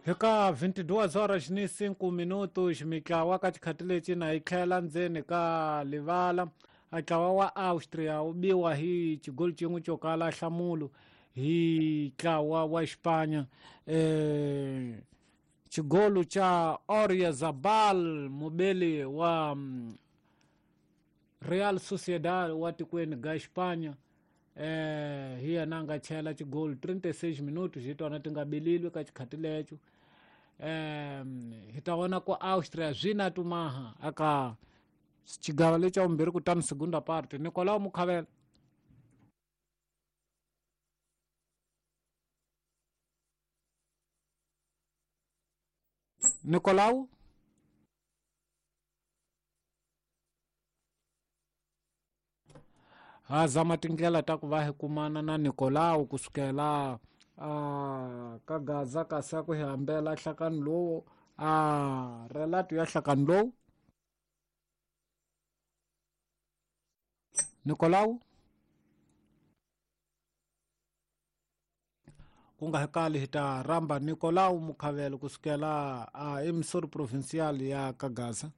Hi ka 22 horas ni 5 minutos mitlawa ka xikhati lexi na yi tlhela ndzeni ka livala. A ntlawa wa Austria wu biwa hi xigoli xin'we xo kala nhlamulo hi ntlawa wa Xipanya. Xigolo xa Oyarzabal, mubeli wa Real Sociedad wa tikweni ga Xipanya, hi yena a nga chela xigolo 36 minutos hi tona ti nga belilwe ka xikhati lexo. Hi ta vona ku Austria swi na tumaha aka xigava lexi xa vumbirhi, kutani segunda parte. Nicolau Mukhavela. Nicolau ha zama tindlela ta ku va hi kumana na Nicolau kusukela a ka Gaza, kasi a ku hi hambela nhlakano lowu, a relato ya nhlakano lowu. Nicolau ku nga kali hi ta rhamba Nicolau Mukhavelo kusukela a emisori provincial ya Kagaza.